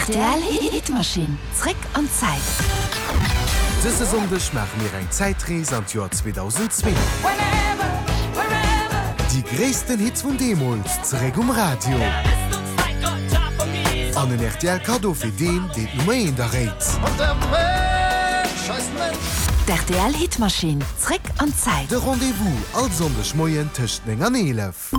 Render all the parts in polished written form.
Rtl Hitmaschinn, zréck an d'Zäit. Dëse Sonndeg maache mir eng Zäitrees an d'Joer 2002. Déi gréissten Hits vun deemools zeréck um Radio. An en rtl Kaddo fir deen, deen d'Nummer eent erréit. D'RTL Hitmaschinn, zréck an d'Zäit. De Rendez-vous all Sonndeg Moien tëscht 9 an 11.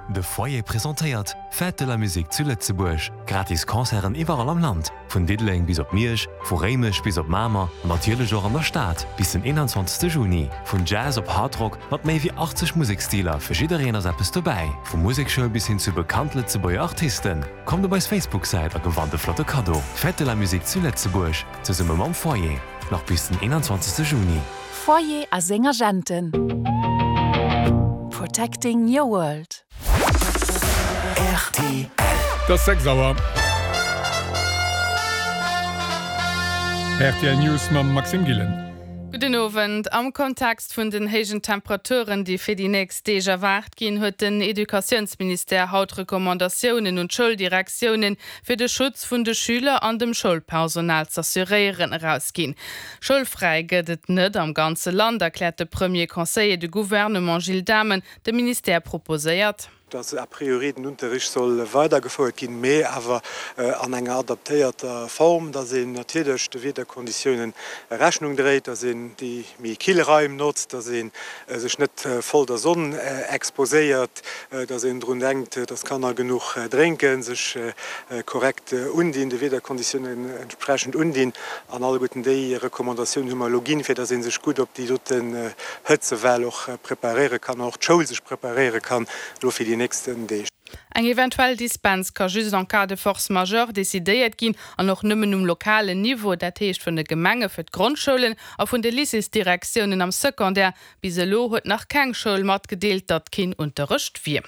De Foyer presentéiert Fête de la Musique zu Lëtzebuerg. Gratis Concerten iwwerall am Land, vun Diddeleng bis op Miersch, vu Réimech bis op Mamer an natierlech och an der Stad, bis den 21 Juni. Vun Jazz op Hardrock mat méi wéi 80 Museksstiler, fir jiddereen ass eppes dobäi. Vu Musekschoul bis hin zu bekannt Lëtzebuerger Artisten. Kommt op eis Facebook-Säit a gewannt e flotte Kaddo. Fête de la Musique zu Lëtzebuerg, zesumme mam Foyer, nach bis den 21 Juni. Foyer a seng Agenten. Protecting your world. Rtl. Et ass 6 Auer. Rtl News mam Maxime Gillen. Gudden Owend. Am Kontext vun den héijen Temperaturen, déi fir déi nächst Deeg erwaart ginn, huet den Educatiounsministère haut Recommandatiounen un d'Schouldirektiounen, fir de Schutz vun de Schüler an dem Schoulpersonal z'assuréieren, erausginn. Schoulfräi gëtt et net am ganze Land, erkläert de Premier Conseiller de Gouvernement Gilles Dhamen. De Ministère proposéiert. Dass a priori den Unterricht soll weidergefouert ginn, mee awer an enger adaptéierter Form, dass een natierlech de Wiederkonditiounen Rechnung dréit, dass een déi méi kill Raim notzt, dass ee sech net voll der Sonn exposéiert, dass een drun denkt, dass d'Kanner genuch drénken, sech korrekt undinn, de Wiederkonditiounen entsprechend undinn. An alleguerten déi Recommandatiounen hu mer elo ginn, fir dass ee sech gutt op déi doten Hëtzewell och preparéiere kann an och d'Schoul sech preparéiere kann elo fir déi nächsten Deeg. Eng eventuell Dispens ka just en cas de force majeure decidéiert ginn an och nëmmen um lokalen Niveau, dat heescht vun de Gemenge fir d'Grondschoulen a vun de Lycéesdirektiounen am Secondaire. Bis elo huet nach keng Schoul matgedeelt, datt keen Unterrecht wier.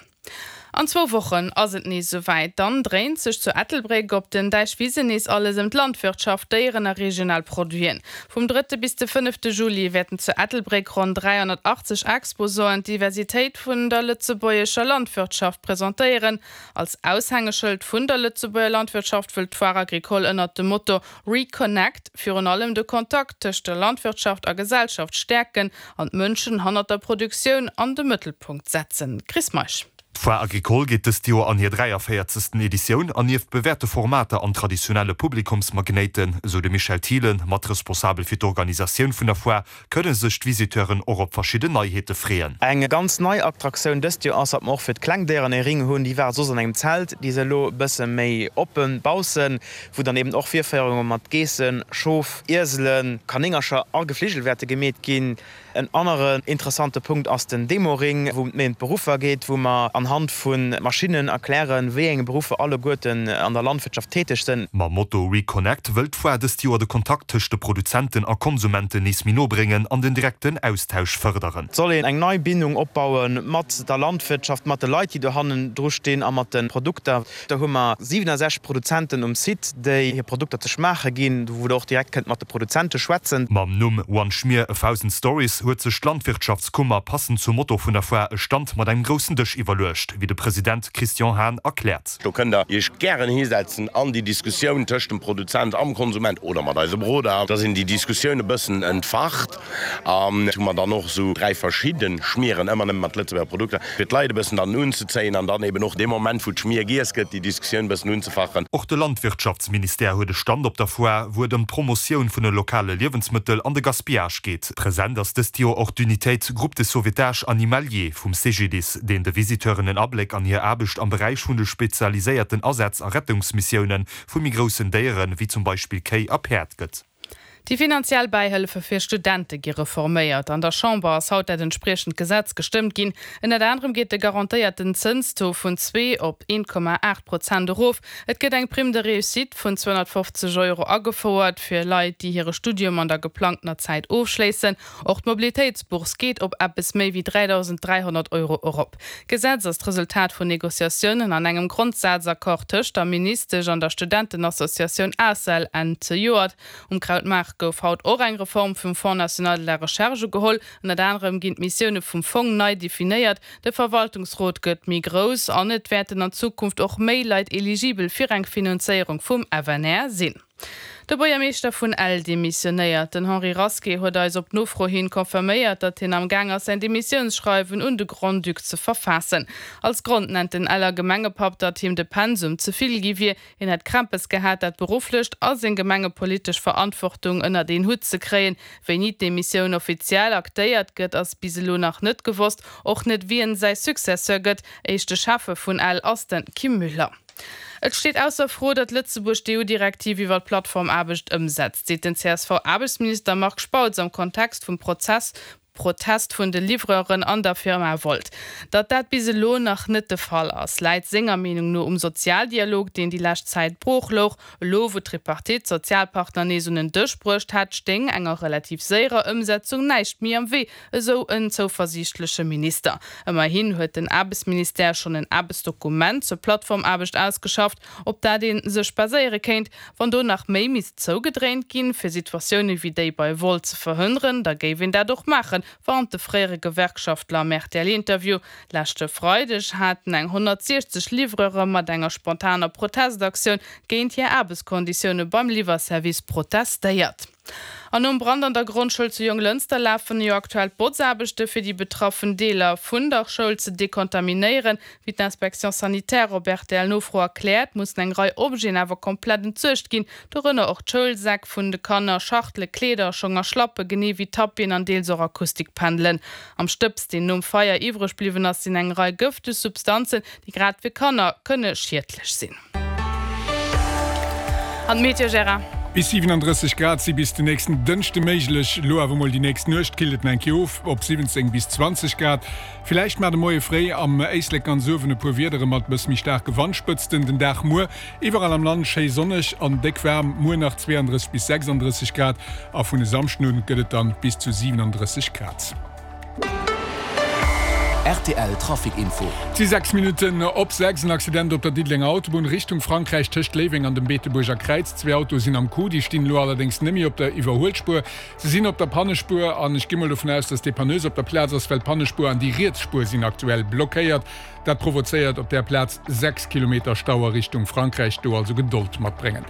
An zwou Wochen ass et nees esouwäit, dann dréint sech zu Ettelbréck op den Däichwisen nees alles ëm d'Landwirtschaft, Déieren a regional Produiten. Vum drëtte bis de fënnefte Juli wäerten zu Ettelbréck ronn 380 Exposanten d'Diversitéit vun der lëtzebuergescher Landwirtschaft presentéieren. Als Aushängeschëld vun der Lëtzebuerger Landwirtschaft wëllt d'Foire Agricole ënnert dem Motto Reconnect virun allem de Kontakt tëscht der Landwirtschaft a Gesellschaft stäerken an d'Mënschen hannert der Produktioun an de Mëttelpunkt setzen. Chris Meisch. D'Foire Agricole geet dëst Joer an hir 43. Editioun an nieft bewäerte Formater an traditionelle Publikumsmagnéiten, esou de Michel Thielen, mat responsabel fir d'Organisatioun vun der Foire, kënne sech d'Visiteuren och op verschidden Neiheete freeën. Eng ganz nei Attraktioun dëst Joer ass, datt mer och fir d'kleng Déieren e Ring hunn. Déi ware soss an engem Zelt, déi si elo e bësse méi oppen baussen, wou dann eben och Virféierunge mat Geessen, Schof, Ieselen, Kanéngercher a Gefligel wäerte gemeet ginn. En aneren interessante Punkt ass den Demo-Ring, wou et méi ëm d'Beruffer geet, wou mer anhand vu Maschinnen erklären, wéi eng Beruffer alleguerten an der Landwirtschaft täteg sënn. Mam Motto Reconnect wëll d'Foire dëst Joer de Kontakt tëscht de Produzenten a Konsumenten nees méi no bréngen an den direkten Austausch fërderen. Et soll een eng nei Bindung opbaue mat der Landwirtschaft, mat de Leit, déi do hannendru stinn a mat de Produkter. Do hu mer 67 Produzenten um Site, déi hir Produkter ze schmaache ginn, wou der och direkt kënnt mat de Produzente schwätzen. Mam Numm One Schmier, a Thousand Stories huet sech d'Landwirtschaftskummer, passend zum Motto vun der Foire, e Stand mat engem groussen Dësch iwwerluecht, wéi de President Christian Hahn erkläert. Do kënnt der Iech gären hisetzen an déi Diskussioun tëscht dem Produzent am Konsument oder mat eise Beroder, dass een déi Diskussioun e bëssen entfacht. An hu mer dann och esou 3 verschidde Schmieren, ëmmer nëmme mat Lëtzebuerger Produkter, fir d'Leit e bëssen dann unzezéien an dann eben och dee Moment, wou d'Schmier giess gëtt, déi Diskussioun e bëssen unzefachen. Och de Landwirtschaftsministère huet e Stand op der Foire, wou et ëm d'Promotioun vun de lokale Liewensmëttel an de Gaspillage geet. Present ass dëst Joer och d'Unitéit Groupe de sauvetage animalier vum CGDIS, deen de Visiteuren en Abléck an hir Aarbecht am Beräich vun de spezialiséierten Asätz a Rettungsmissioune vu méi groussen Déieren, wéi zum Beispill Kéi a Päerd gëtt. Déi finanziell Bäihëllefe fir Studente gi reforméiert. An der Chamber ass haut dat entspriechend Gesetz gestëmmt ginn. Ënnert anerem geet de garantéierten Zënstaux vun 2 op 1,8 Prozent erof. Et gëtt eng Prime de réussite vun 250 Euro agefouert fir Leit, déi hire Studium an der geplangtener Zäit ofschléissen. Och d'Mobilitéitsbourse geet op eppes méi wéi 3.300 Euro erop. D'Gesetz ass d'Resultat vun Negociatiounen an engem Grondsazaccord tëscht der Ministesch an der Studentenassociatioun ACEL Enn zejoert. Um Krautmaart. gouf haut och eng Reform vum Fonds national de la recherche ugeholl. Ënnert anerem ginn d'Missioune vum Fong nei definéiert, de Verwaltungsrot gëtt méi grouss an et wäerten an Zukunft och méi Leit eligibel fir eng Finanzéierung vum FNR sinn. De Buergermeeschter vun Ell demissionéiert. Den Henri Rasqué huet eis op Nofro hin confirméiert, datt hien am Gaang ass säin Demissiounsschreiwen un de Grand-Duc ze verfaassen. Als Grond nennt den Eller Gemengepapp, datt him de Pensum ze vill gi wier. Hien hätt Krämpes gehat, dat berufflecht a seng gemengepolitesch Verantwortung ënnert een Hutt ze kréien. Wéini d'Demissioun offiziell aktéiert gëtt, ass bis elo nach net gewosst. Och net wien säi Successeur gëtt. Éischte Schäffe vun Ell ass den Kim Müller. Et steet ausser Fro, datt Lëtzebuerg d'EU-Direktiv iwwer d'Plattformaarbecht ëmsetzt, seet den CSV-Aarbechtsminister Marc Spautz am Kontext vum Prozess Protest vun de Livreuren an der Firma Wolt. Datt dat bis elo nach net de Fall ass, läit senger Meenung no um Sozialdialog, deen déi lescht Zäit brooch louch. Elo wou d'Tripartite d'Sozialpartner nees un en Dësch bruecht hätt, stéing enger relativ séierer Ëmsetzung näischt méi am Wee, esou en zouversiichtleche Minister. Ëmmerhin huet den Aarbechtsministère schonn en Aarbechtsdokument zur Plattformaarbecht ausgeschafft, op dat ee sech baséiere kéint. Wann do nach méi misst zougedréint ginn, fir Situatioune wéi déi bei Wolt ze verhënneren, da géif een dat och maachen, warnt de fréiere Gewerkschaftler am RTL-Interview. Leschte Freideg haten eng 160 Livreure mat enger spontaner Protestaktioun géint hir Aarbechtskonditioune beim Liwwerservice protestéiert. An nom Brand an der Grondschoul zu Jonglënster lafen jo aktuell d'Botzaarbechte fir déi betraffen Deeler vun der Schoul ze dekontaminéieren. Wéi d'Inspection sanitaire op RTL-Nofro erkläert, mussen eng Rei Objeten awer komplett entsuergt ginn, dorënner och d'Schoulsäck vun de Kanner, Schachtele, Kleeder, Schong a Schlappe genee wéi Tapien an deels och Akustikpendelen. Am Stëbs, deen nom Feier iwwreg bliwwen ass, sinn eng Rei gëfteg Substanzen, déi grad fir Kanner kënne schiedlech sinn. An d'Meteo, Gérard? Bis 37 Grad si bis den nächsten Dënschde méiglech. Elo awer mol déi nächst Nuecht killt et nach eng Kéier of op 17 bis 20 Grad. Villäicht mar de Moie fréi am Éislek ganz uewen e puer Wiedere mat bësse méi staarke Wandspëtzten. Den Dag muer iwwerall am Land schéi sonneg an déck waarm, muer nach 32 bis 36 Grad a vun e Samschden un gëtt et dann bis zu 37 Grad. Rtl Trafic Info. Et si 6 Minutten op 6. En Accident op der Diddelenger Autobunn Richtung Frankräich tëscht Léiweng an dem Beetebuerger Kräiz. Zwee Autoe sinn am Coup, déi stinn elo allerdéngs net méi op der Iwwerhuelspuer. Se sinn op der Pannespuer an ech gi mol dovun aus, dass d'Depanneuse op der Plaz ass, well d'Pannespuer an déi riets Spuer sinn aktuell blockéiert. Dat provozéiert op där Plaz 6 Kilometer Stau a Richtung Frankräich. Do also Gedold matbréngen.